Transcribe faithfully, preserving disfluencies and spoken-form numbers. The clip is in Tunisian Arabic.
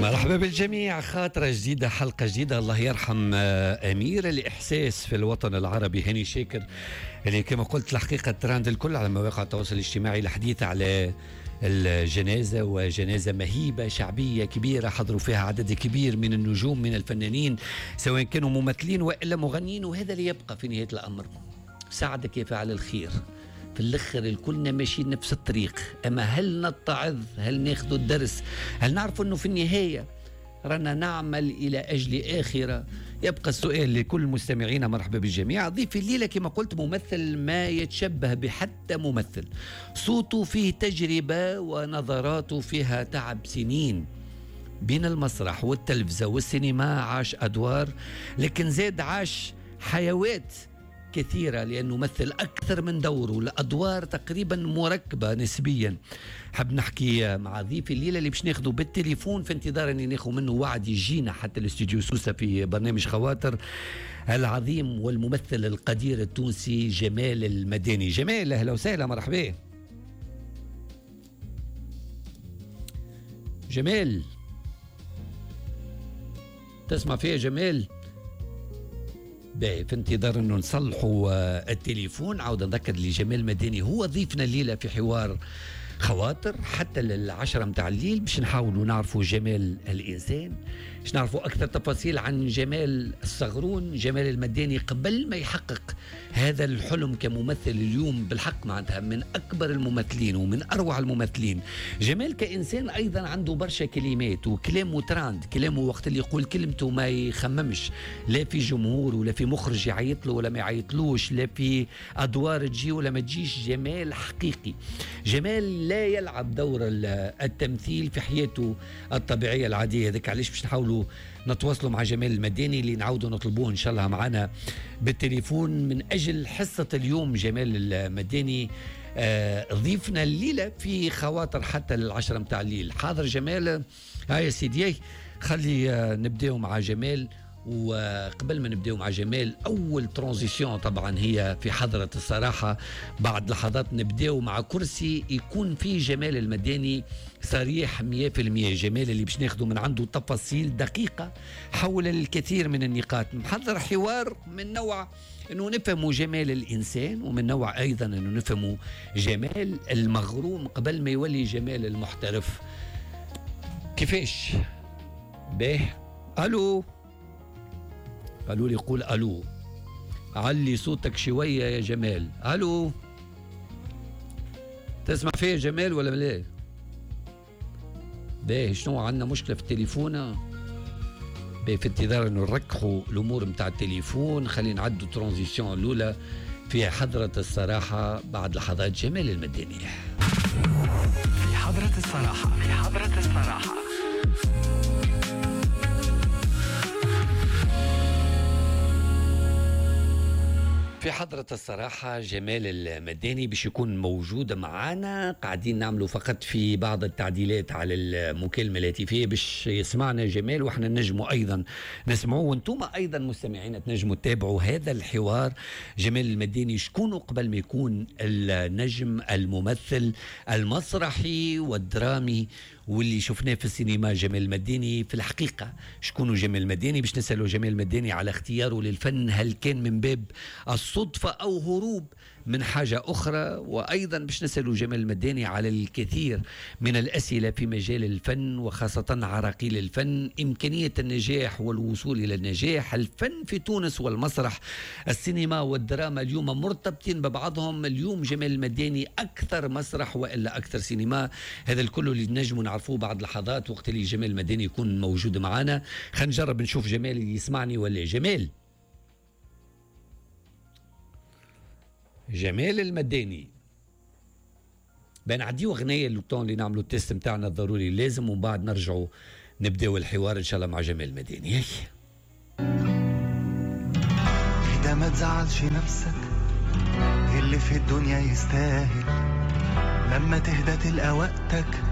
مرحبا بالجميع، خاطرة جديدة، حلقة جديدة. الله يرحم أمير الإحساس في الوطن العربي هاني شاكر، اللي كما قلت الحقيقة تراند الكل على مواقع التواصل الاجتماعي الحديث على الجنازة، وجنازة مهيبة شعبية كبيرة حضروا فيها عدد كبير من النجوم من الفنانين سواء كانوا ممثلين وإلا مغنيين. وهذا اللي يبقى في نهاية الأمر، ساعدك يا فاعل الخير، في الآخر الكلنا ماشيين نفس الطريق. أما هل نتعظ؟ هل ناخذ الدرس؟ هل نعرف أنه في النهاية رانا نعمل إلى أجل آخرة؟ يبقى السؤال لكل مستمعينا. مرحبا بالجميع. ضيف الليلة كما قلت ممثل ما يتشبه بحتى ممثل، صوته فيه تجربة ونظراته فيها تعب سنين بين المسرح والتلفزة والسينما. عاش أدوار لكن زاد عاش حيوات كثيرة لأنه مثل أكثر من دوره، الأدوار تقريبا مركبة نسبيا. حب نحكي مع ضيف الليلة اللي باش ناخده بالتليفون في انتظار أني ناخذ منه وعد يجينا حتى الاستوديو سوسة في برنامج خواطر، العظيم والممثل القدير التونسي جمال المداني. جمال أهلا وسهلا، مرحبا. جمال تسمع فيها جمال؟ باهي، في انتظار انه نصلحوا التليفون. عاود نذكر اللي جمال مداني هو ضيفنا الليلة في حوار خواطر حتى للعشرة متاع الليل، باش نحاولوا نعرفوا جمال الإنسان، باش نعرفوا أكثر تفاصيل عن جمال الصغرون جمال المداني قبل ما يحقق هذا الحلم كممثل اليوم. بالحق معناتها من أكبر الممثلين ومن أروع الممثلين. جمال كإنسان أيضا عنده برشا كلمات وكلامه تراند، كلامه وقت اللي يقول كلمته ما يخممش، لا في جمهور ولا في مخرج يعيط له ولا ما يعيطلوش، لا في أدوار تجي ولا ما تجيش. جمال حقيقي، جمال لا يلعب دور التمثيل في حياته الطبيعية العادية. هذاك علاش باش نحاولوا نتواصلوا مع جمال المداني اللي نعاودوا نطلبوه إن شاء الله معنا بالتليفون من أجل حصة اليوم. جمال المداني آه ضيفنا الليلة في خواطر حتى للعشرة متاع الليل. حاضر جمال؟ هاي يا سيدي، خلي آه نبداو مع جمال. وقبل ما نبداو مع جمال، أول transition طبعا هي في حضرة الصراحة. بعد لحظات نبداو مع كرسي يكون فيه جمال المداني صريح مية في المية. جمال اللي باش ناخده من عنده تفاصيل دقيقة حول الكثير من النقاط. محضر حوار من نوع أنه نفهموا جمال الإنسان، ومن نوع أيضا أنه نفهموا جمال المغروم قبل ما يولي جمال المحترف. كيفاش؟ باه ألو، قالوا لي قول ألو، علي صوتك شوية يا جمال. ألو، تسمع فيا جمال ولا لا؟ باهي، شنو عندنا مشكلة في التليفون؟ باهي، في انتظار انه نركحوا الأمور متاع التليفون، خلينا نعدوا transition الأولى في حضرة الصراحة بعد لحظات جمال المداني. في حضرة الصراحة، في حضرة الصراحة. في حضرة الصراحة جمال المداني باش يكون موجود معنا. قاعدين نعملوا فقط في بعض التعديلات على المكالمة الهاتفية باش يسمعنا جمال، واحنا نجموا أيضا نسمعوه، وانتم أيضا مستمعين تنجموا تتابعوا هذا الحوار. جمال المداني شكونه قبل ما يكون النجم الممثل المسرحي والدرامي واللي شفناه في السينما؟ جمال المداني في الحقيقة شكونه جمال المداني؟ باش نسأله جمال المداني على اختياره للفن، هل كان من باب الصدفة أو هروب من حاجة أخرى؟ وأيضا باش نسأله جمال المداني على الكثير من الأسئلة في مجال الفن، وخاصة عراقيل الفن، إمكانية النجاح والوصول إلى النجاح، الفن في تونس والمسرح، السينما والدراما اليوم مرتبطين ببعضهم. اليوم جمال المداني أكثر مسرح وإلا أكثر سينما؟ هذا الكل اللي نجم نعرفوه بعد لحظات وقت اللي جمال المداني يكون موجود معنا. خلينا نجرب نشوف جمال يسمعني ولا. جمال، جمال المداني، بنعديو غنية le temps اللي نعملوا ال test نتاعنا الضروري لازم، ومن بعد نرجعوا نبداو الحوار ان شاء الله مع جمال المداني. إذا ما تزعلش نفسك، اللي في الدنيا يستاهل، لما تهدى تلقى وقتك